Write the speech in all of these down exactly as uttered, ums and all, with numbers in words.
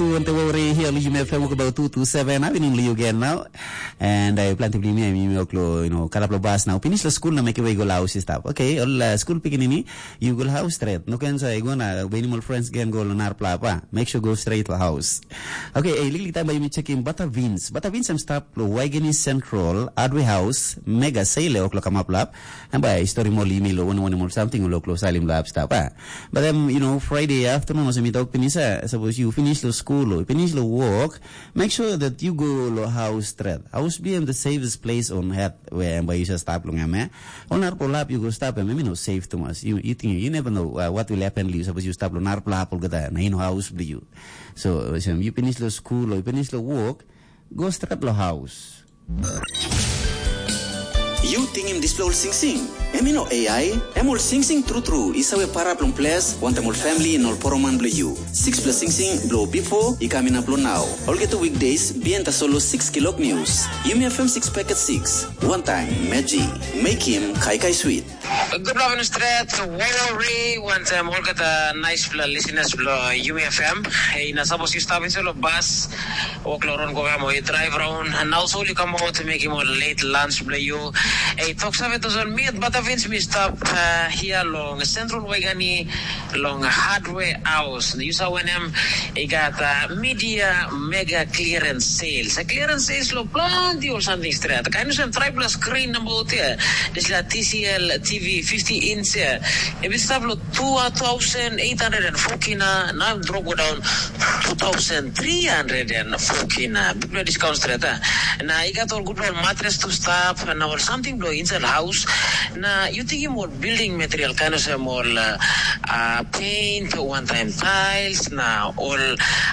Tu ante wori hia lu yume fem wok about two to seven. Abi nun liu gen now. And I plan to bring me mi ok lo, you know, kalap lo bas now. Finish lo school na make way go la house stop. Okay, all uh, school picking ini, you go house straight. No can say go na when all friends game go lo nar plapa. Make sure go straight to house. Okay, eh, liklik time by me checking Bata Vince. Bata Vince I'm stop lo Waigani Central, Adway House, Mega Sale ok lo come up lap. And by story more email lo one one more something lo close salim lap stop. Ah. But then, you know, Friday afternoon also me talk pinisa. Suppose you finish lo school lo finish lo work, make sure that you go lo house straight. House be the safest place on earth where by you stop long am. Eh? On our lap you go stop and maybe no safe too much. You you think you never know uh, what will happen to you. Suppose you stop lo nar lap all gata na in house be you. So, so you finish lo school lo finish lo work, go straight lo house. Yu tingim dispela ol singsing? Em i no A I, em ol singsing tru tru i save para bilong ples wantaim ol famili na ol poroman bilong yu. Sixpela singsing bilong bipo i kam inap long nau. Olgeta weekdays bihain tasol long six kilok nius. Yumi F M six paket six. Wantaim Meji. Mekim kaikai swit. Good morning, Stret. Worry, wantaim olgeta nice pela listeners bilong Yumi F M. Hey, na suppose you stop into the bus, walk around go mo you drive around, and also you come out to make him a late lunch bilong you. Hey, talk save to zone me, but I mean me stop uh, here long Central Wegani, long Hardware House. You saw when him, he got uh, media mega clearance sales. A clearance sales lo plenty or something straight. Kind of some triple screen number out there. Dispela T C L T V fifty inch ia. Em i stap long two thousand eight hundred and four kina, na em drop go down two thousand three hundred and four kina. Bikpela discount stret a. Na i gat ol gutpela ol matres tu stap, na ol samting bilong inside house. Na yu tingim ol building material, kain olsem ol uh, paint, one time tiles, na ol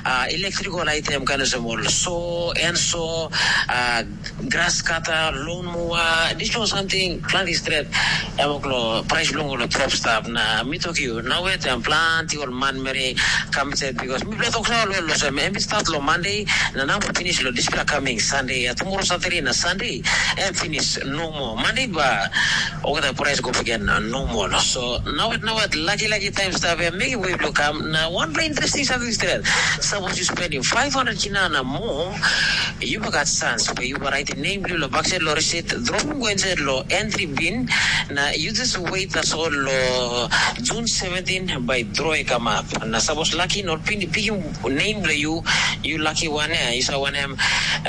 uh, electrical item, kain olsem ol saw, and saw, uh, grass cutter, lawn mower, dispela ol samting planti stret. Em ol prais bilong ol drop stap na mi tok yu, na wet em planti ol manmeri kam inside because mi pela tok sa ol olsem em i start long Monday na nau finish long dispela coming Sunday, ya tomorrow Saturday na Sunday em finish no more. Monday ba olgeta prais go again no more. So na wet na wet lucky lucky time stap ya make way bilong kam na one interesting something stret. Suppose you spending five hundred kina na more, you got chance pe you write name bilong lo backside lo receipt, drop go inside lo entry bin, na you just wait tasol lo June seventeen by draw i come up. Na suppose lucky not pin pikim name bilong you, you lucky one ya, you saw one em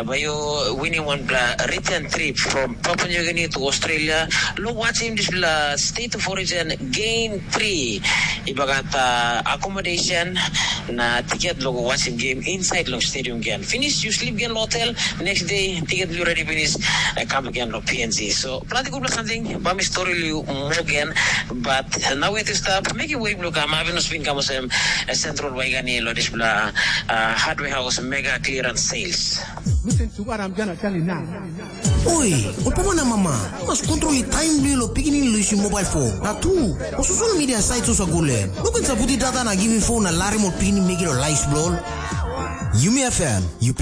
by you winning one bla return trip from Papua New Guinea to Australia. Lo watching this bla state of origin game three. I bagat uh, accommodation na tiket lo go watching game inside long stadium again. Finish, you sleep again hotel. Next day, ticket you ready finish. Uh, come again lo P N G. So, planti gutpela something. Bami story you more again. But uh, now it is stop. Make it way look. I'm having a spin come same uh, Central Waigani lo this bla uh, hardware house mega clearance sales. Listen to what I'm gonna tell you now. Oi, ol papa na mama, mas kontrol i taim bilong ol pikinini lusim mobile phone. Na tu, ol social media site sosa gule. No ken saputi data na givim phone na larim ol pikinini mekim ol lais bilong ol. Yumi F M, you